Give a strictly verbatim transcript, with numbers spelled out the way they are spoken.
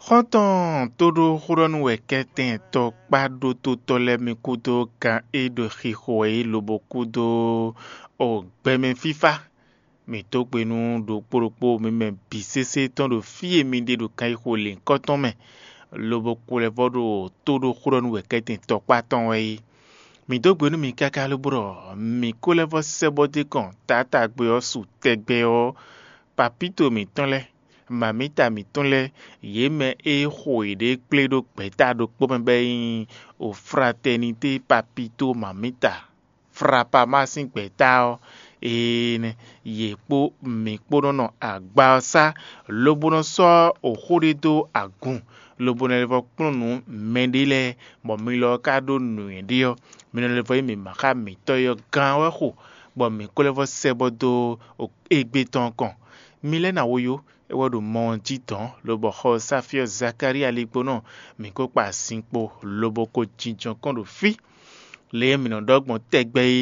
Xɔ́ntɔn tóɖó xóɖɔ́nú wɛ kɛ́tɛn tɔkpá ɖótótɔ́ lɛ́ɛ mi kúdó gan e ɖo xixo wɛ é lobo kúdó gbɛmɛ fífá. Mǐ dó gbe nú ɖokpó ɖokpó mi mɛ bǐ sésé tɔn ɖo fí e mi ɖe ɖo kanxixo lěhunkɔtɔn mɛ, lobo kú lɛ́ vɔ ɖo tóɖó xóɖɔ́nú wɛ kɛ́tɛn tɔkpá tɔn wɛ é. Mǐ dó gbe nú mi káká lobo ɖɔ mǐ ko lɛ́ vɔ sɛ́ bɔ dó kɔn taátagbe ɔ́ su tɛgbɛ ɔ́, papíto mǐtɔn lɛ́ɛ, mamǐta mǐtɔn lɛ́ɛ, yě mɛ e xo yěɖée kplé ɖó gbɛ̌ta ɖokpó mɛ bɔ é nyí Ofratɛnité Papito Mamita Frapama sín gbɛ̌ta ɔ́, ee nɛ́, yě kpó mǐ kpó nɔ́ nɔ agba ɔ́ sá, lobo nɔ sɔ́ oxó ɖé dó agun, lobo nɔ lɛ́ vɔ kplɔ́n nǔ mɛɖé lɛ́ɛ, bɔ mi lɔ ɔ́ ka ɖó nǔnywɛ́ ɖé ɔ́, mi nɔ lɛ́ vɔ nyí mǐma xá mǐtɔn e ɔ́ gán wɛ xo, bɔ mǐ ko lɛ́ vɔ sɛ bɔ dó égbé tɔn kɔn. Mi lɛ́ ná wo yó, é wɛ ɖo mɔ ɔ́ jí dɔ̌n, lobɔ xɔ Safyɔ́ Zakalía ligbónɔ mǐ ko kpa azinkpo, lobo ko jínjɔ́n kɔn ɖo fí. Lě e mǐ nɔ ɖɔ gbɔn tɛgbɛ é,